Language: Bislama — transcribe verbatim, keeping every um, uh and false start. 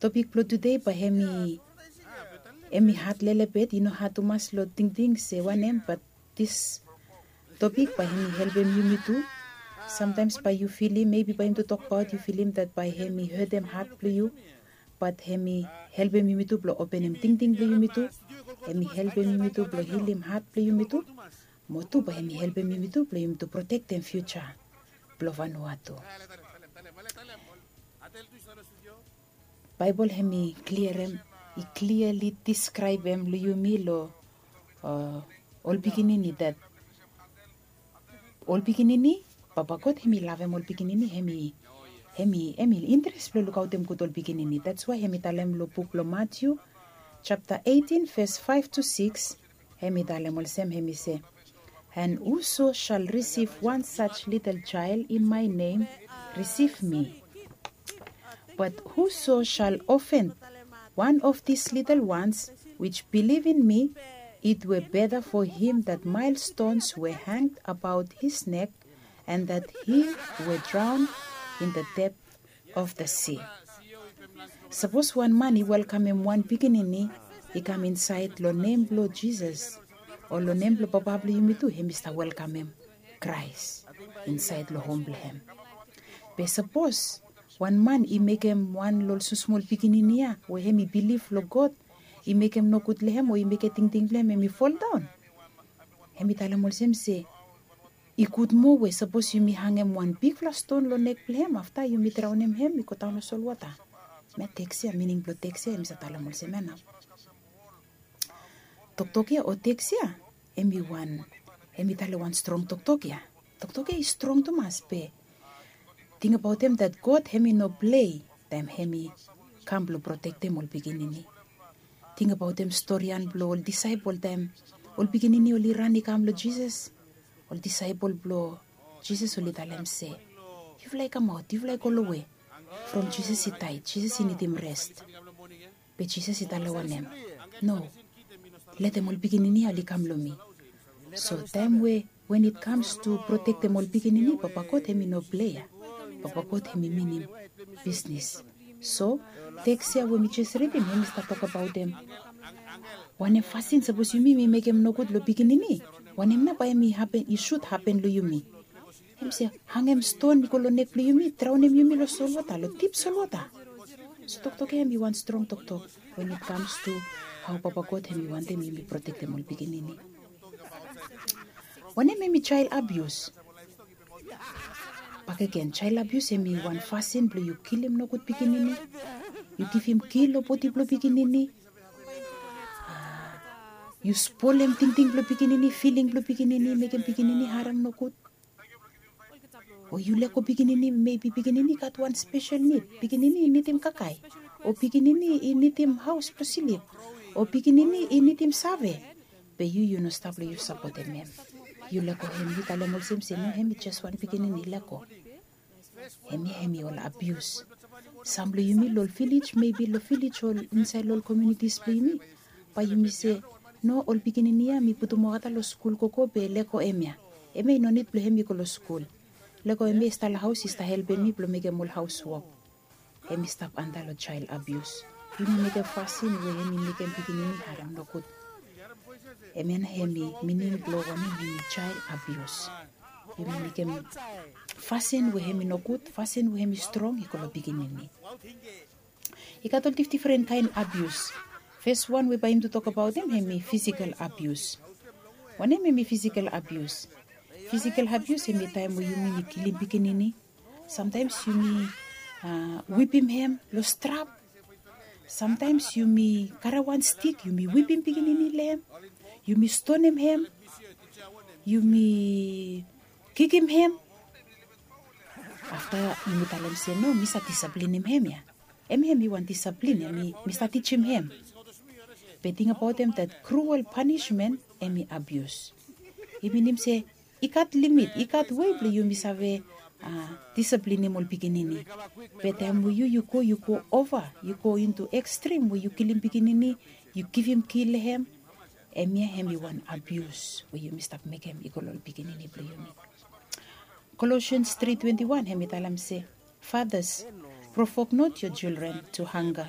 Topik blong tude bae hem i hem i had lelebet, i no had tumas long tingting se wanem, bat dis topik bae hem i helpem yumi tu. Samtaems bae yu filim, mebi bae yumi tu tokbaot yu filim dat bae hem i hetem had blong yu, bat hem i helpem yumi tu blong openem tingting blong yumi tu. Hem i helpem yumi tu blong hilim had blong yumi tu. Mo tu bae hem i helpem yumi tu blong yumi tu protektem fiuja blong Vanuatu. Baebol hem i kliarem, i kliali diskraebem long yumi long ol pikinini dat ol pikinini, Papa God hem i lavem ol pikinini, hem i hem i hem i interes blong lukaotem gud ol pikinini. Dats wae hem i talem long buk blong Matiu japta eitin ves faef tu sikis, hem i talem olsem, hem i se, "And whoso shall receive one such little child in my name, receive me. But whoso shall offend one of these little ones which believe in me, it were better for him that millstones were hanged about his neck, and that he were drowned in the depth of the sea." Sapos wan man i welkamem wan pikinini i kam insaed long nem blong Jisas, o long nem blong Papa blong yumi tu, hem i stap welkamem Kraes insaed long hom blong hem. Be sapos wan man i mekem wan long ol smosmol pikinini ya we hem i bilif long God, i mekem nogud long hem o i mekem tingting blong hem hem i foldaon, hem i talem olsem se, i gud moa we sapos yumi hangem wan bigfala ston long nek blong hem, afta yumi draonem hem i godaon long solwota. Hemia teks ya, mining blong teks ya hem i save talem olsem ya nao. Toktok ya o teks ya hem i wan hem i talem wan strong toktok ya. Toktok ya i strong tumas be tingbaotem dat God hem i no plei taem hem i kam blong protektem ol pikinini. Tingbaotem storian blong ol disaepol taem ol pikinini oli ran i kam long Jisas. Ol disaepol blong Jisas oli talem se, "Yufala i kamaot, yufala i golowe, from Jisas i daed, Jisas i nidim res." Be Jisas i talem wanem? No. Letem ol pikinini ya oli kam long mi. So taem we when it comes to protektem ol pikinini, Papa God hem i no plei ya. Papa God hem i minim bisnis. So teks ya we mi jes ridim hem i stap tokbaotem wanem fasin sapos yumi yumi mekem nogud long pikinini, wanem nao bae hem i hapen, i sud hapen long yumi. Hem se, hangem ston i go long nek blong yumi, draonem yumi long solwota, long dip solwota. So toktok ya hem i wan strong toktok when it comes to hao Papa God hem i wantem yumi protektem ol pikinini. Wanem hem i jael abius? Bakegen, jael abius hem i wan fasin blong yu kilim nogud pikinini, yu givim kil long bodi blong pikinini, yu spolem tingting blong pikinini, filing blong pikinini, mekem pikinini harem nogud. O yu lego pikinini, mebi pikinini i gat wan spesel nid, pikinini i nidim kakae, o pikinini i nidim haos blong slip, o pikinini i nidim save. Be yu yu no stap long yu sapotem hem. Yu lego hem, yu talem olsem se no, hem i jes wan pikinini, lego. Hemia hem i ol abius. Sam blong yumi long ol vilej, mebi long vilej o insaed long ol komiunitis blong yumi, bae yumi se, no, ol pikinini ya mi putum olgeta long skul gogo be lego hemia. Hemia i no nid blong hem i go long skul. Lego hemia i stap long haos i stap helpem mi blong mekem ol haos wok. Hem i stap anda long jael abius. Yumi mekem fasin we hem i mekem pikinini harem nogud. Hemia nao hem i mining blong wanem hem i jael abius. Yumi mekem fasin we hem i nogud, fasin we hem i strong i go long pikinini. I gat ol difdifren kaen abius. Fes wan we bae yumi tu tokbaot hem hem i fisikel abius. Wanem hem i fisikel abius? Fisikel abius hem i taem we yumi yumi kilim pikinini. Samtaems yumi wipim hem long strap. Samtaems yumi karem wan stik yumi wipim pikinini long hem. Yumi stonem hem. Yumi kikim hem. Afta yumi talem se no, mi save disaplinim hem ya. Hemia hem i wan disaplin ya, mi stap tijim hem. Be tingbaotem dat kruel panismen hem i abius. I minim se i gat limit, i gat wei blong yumi save disaplinim ol pikinini. Be taem we yu yu go yu go ova, yu go intu ekstrim we yu kilim pikinini, yu givim kil long hem, hemia hem i wan abius we yumi stap mekem i go long ol pikinini blong yumi. Kolosians tri twenti wan hem i talem se, fathers, Provok not yo jildren tu hanga.